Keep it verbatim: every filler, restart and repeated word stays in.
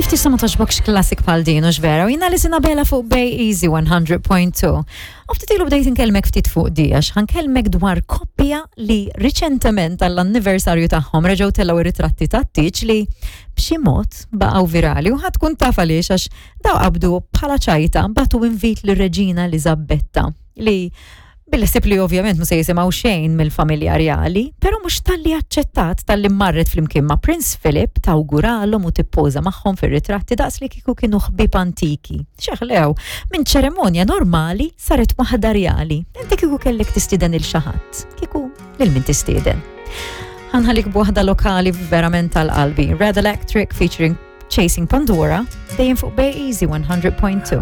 Kif tista' ma togħġbokx classic bħal din u vera, u jiena Alison Abela fuq Bay Easy one hundred point two. U ftit ilu bdejt inkellmek ftit fuq di, għax ħa nkellmek dwar koppja li riċentement għall-anniversarju tagħhom reġgħu tellgħu ritratti tat-tieġ li b'xi mod baqgħu virali, u ħa tkun taf għaliex, għax daw qabdu bħala ċajta bagħtu invit lir-Reġina Eliżabetta li bil-ħsieb li ovvjament mhux se jisimgħu xejn mill-familja reali, però mhux talli aċċettat, talli marret flimkien ma' Prince Philip tawguralhom u tippoża magħhom fir-ritratti daqs li kieku kienu ħbieb antiki. Xeħlew, minn ċeremonja normali saret waħda reali. Inti kieku kellek tistieden lil xi ħadd, kieku lil min tistieden? Ħa nħallik b'waħda lokali verament tal-qalbi. Red Electric featuring Chasing Pandora, dejjem fuq Bay Easy one hundred point two.